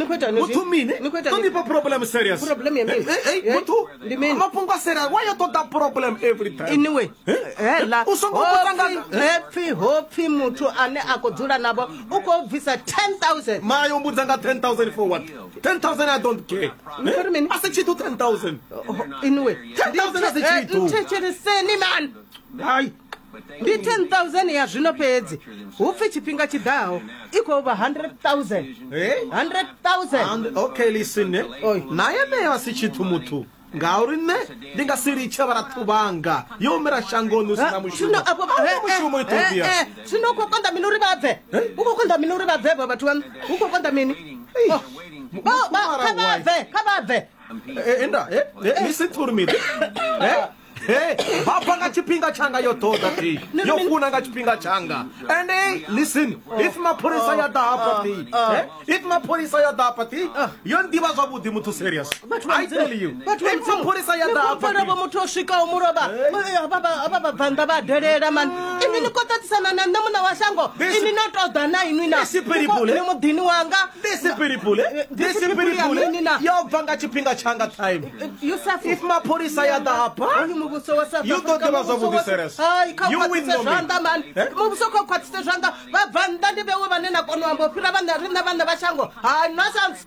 Ni khou itani Muthu zwi? mini? Ni khou itani? Ṱo ndifha problem serious. Problem ya mini? Eh, eh, Eh, muthu ndi mini? Mafhungo a serious. Why you ṱoḓa problem every time? Anyway, Eh? hela U songo vhudza nga hepfi hopfi muthu ane a khou dzula navho u khou bvisa 10000. Mara yo mbudza nga 10,000 for what? 10,000 I don't care. Ni khou ri mini? A si tshithu 10,000. Anyway, 10,000 a si tshithu. Nthetsheleseni man. Hai. Ndi 10000 ya zwino fhedzi. Hu pfi tshifhinga tshiḓaho i khou vha 100000. Eh? 100000. And, okay, listen. Eh? Oi. Na yeneyo a si tshithu muthu. Ngauri nṋe ndi nga si litshe vharathu vhanga yo humela shangoni hu si na mushumo. Zwino afho A hu na mushumo Ethiopia. Zwino u khou konḓa mini uri vha bve? U khou konḓa mini uri vha bve avho vhathu vhaṋu? Hu khou konḓa mini? Oh. Kha vha bve, kha vha bve. Eh, enda, eh, eh, listen to me. Eh? Hey, vha bva nga tshifhinga tshanga yo ṱoḓa thi yo funa nga tshifhinga tshanga and hey, listen if mapholisa ya ḓa hafha thi eh, if mapholisa ya ḓa hafha thi yo nḓivha zwavhuḓi muthu serious I tell you if mapholisa ya ḓa hafha thi muthu o swikaho mulovha vha vhabvannḓa vha delela mani inwi ni khou ṱaṱisana na nṋe muṋe wa shango inwi no tou ḓa na inwi na ni muḓini wanga This people, this people, yo bva nga tshifhinga tshanga time. Yusuf If mapholisa ya ḓa hafha, Hoyu muvhuso wa South You ḓo Africa, ḓivha muvhuso zwavhuḓi, wa- Ceres. Hai, kha u You will khwaṱhise know me. zwanḓa mani Eh? muvhuso kha u khwaṱhise zwanḓa vha bva nnḓa ndi vhewe vhane na kona u amba u fhira vhaṋe riṋe vhaṋe vha shango hai nonsense.